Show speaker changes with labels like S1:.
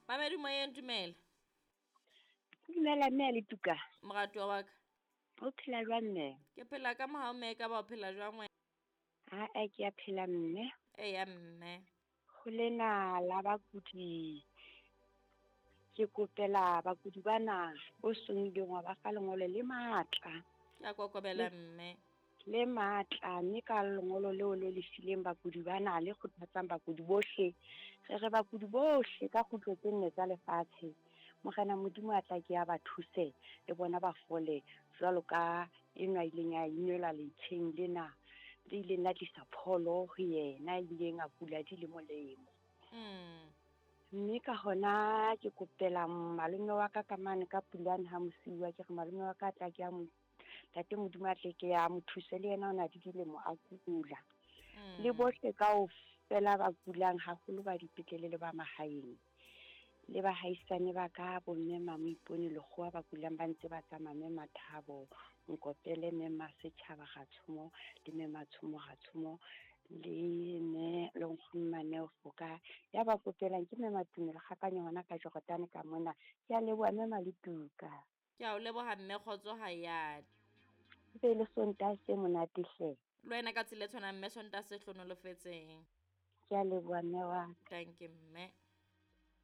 S1: Mamedi moyeng, dumela.
S2: Dumela mme a le tuka.
S1: Moratuwa wa ka.
S2: O phela jwang mme?
S1: Ke phela ka mohau mme, ka ba o phela jwang wena?
S2: Ha-e, ke a phela mme.
S1: Eya mme.
S2: Ho lena la bakudi, ke kopela bakudi bana o seng ileng wa ba fa lengolo le matla.
S1: Ke a kokobela mme.
S2: Le matla, mme ka lengolo leo le le fileng bakudi bana le kgothatsang bakudi bohle. Re re bakudi bohle ka kgutlo tse nne tsa lefatshe. Morena Modimo a tla ke a ba thuse le bona ba fole jwalo ka enwa ileng ya inwelwa letsheng lena le ileng la tlisa pholo ho yena, ileng a kula di le molemo. Mme ka hona ke kopela malome wa ka ka mane ka Pulane ha mosiuwa, ke re malome wa ka a tla ke a mo Ntate Modimo a tle ke a mo thuse, le yena o na le dilemo a kula. Le bohle kaofela ba kulang, haholo ba dipetlele le ba mahaeng. Le bahaisane ba ka, bo mme Mamoipone Lekgowa ba kulang ba ntse ba tsamaya, mme Mathabo Nkopele, mme Masetjhaba Ratshomo, le mme Matshomo Ratshomo, le mme le nkgono Maneo Foka. Ya ba kopelang ke mme Matumelo Kgakanyo hona ka Jordan ka mona. Ke a leboha mme Maletuka.
S1: Ke a o leboha mme, kgotso ha ya.
S2: Be le Sontaha se monate hle.
S1: Le wena ka tsela e tshwanang mme, Sontaha se hlonolofetseng.
S2: Ke a leboha mme wa.
S1: Thank you mme.